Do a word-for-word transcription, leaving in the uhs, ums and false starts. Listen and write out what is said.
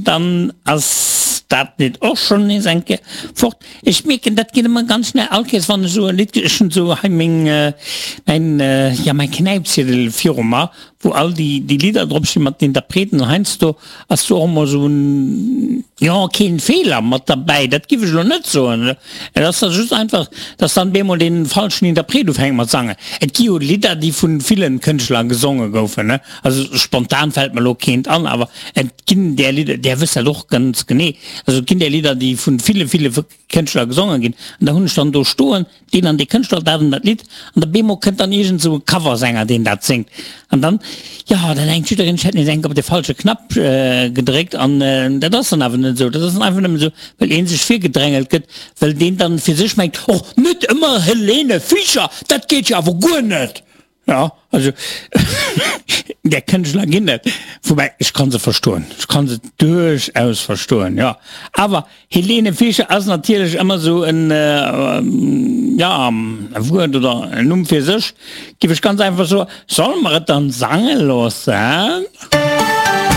dann ass dat Lidd och schonn nees eng Kéier fort. Ech mierken, dat geet ëmmer ganz schnell, all Kéiers wann ech esou e Lidd, ech hunn esou hei meng, mäin, jo mäin Knäipziedel viru mer, wou all déi déi Lidder drop stinn mat den Interpreten, an heiansdo ass do och emol esou en, jo keen Feeler mat derbäi, dat giff ech elo net soen, et ass da just einfach, dass dann bemol dee falschen Interpret ufänkt mat sangen. Et gi jo Lidder, déi vun villen Kënschtler gesonge goufen, ne, also spontan fält mer elo keent an, awer et ginn där Lidder, där wësst dat och ganz genee, also et ginn där Lidder, déi vun ville, ville Kënschtler gesonge ginn, an da hunn ech dann do stoen, deen an dee Kënschtler, dat an dat Lidd, an da bemol kënnt dann iergend esou e Coversänger, deen dat séngt, an dann, jo, dann denkt jiddereen, ech hätt nees enk op de falsche Knapp gedréckt, an dat ass dann awer net esou, dat ass dann einfach nëmmen esou, well ee sech virgedrängelt gëtt, well deen dann fir sech mengt, Och net ëmmer Helene Fischer, dat geet jo awer guer net! Jo, also där Kënschtler ginn et, woubäi ech ka se verstoen, ech ka se duerchaus verstoen, jo. Awer Helene Fischer ass natierlech ëmmer esou en, jo, e Wuert oder en Numm fir sech, géif ech ganz einfach soen. Solle mer et dann sange loossen?